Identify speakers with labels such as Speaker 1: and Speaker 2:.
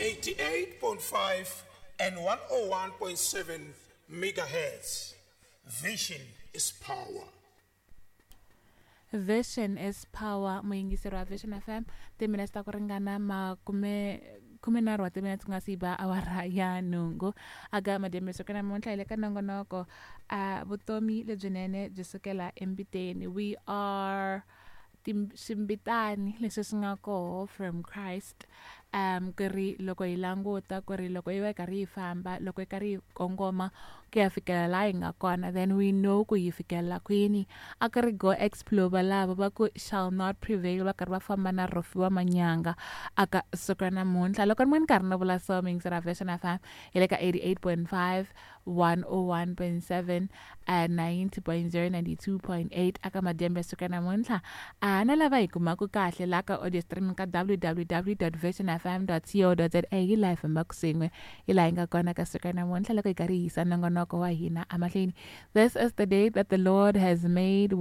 Speaker 1: 88.5 and 101.7 megahertz. Vision is power.
Speaker 2: Vision is power. Muyingiseri wa Vision FM, timinetse ta ku ringana makume 13 wa timinetse ku nga si ba awara ya 8 aka madyambe siku namuntlha hi le ka nongonoko a vutomi lebyinene byi sukela embiteni. We are swimbitani leswi swi nga koho from Christ, ku ri loko hi languta ku ri loko yi va yi karhi yi famba, loko yi karhi yi kongoma ku ya fikela laha hi nga kona, then we know ku hi fikelela kwini. A ku ri go explore valavo va ku shall not prevail, va karhi va famba na Rofhiwa Manyanga aka siku ra namuntlha. Loko ni karhi ni vula so, muyingiseri wa Vision FM, hi le ka 88.5, 101.7, 90.0, 92.8 aka madyambe ya siku ra namuntlha. Na lava hi kumaka kahle laha ka audio streaming ka www.visionfm.co.za, hi laha hi fambaka swin'we, hi laha hi nga kona ka siku ra namuntlha loko hi karhi hi yisa nongonoko wa hina emahlweni. This is the day that the Lord has made.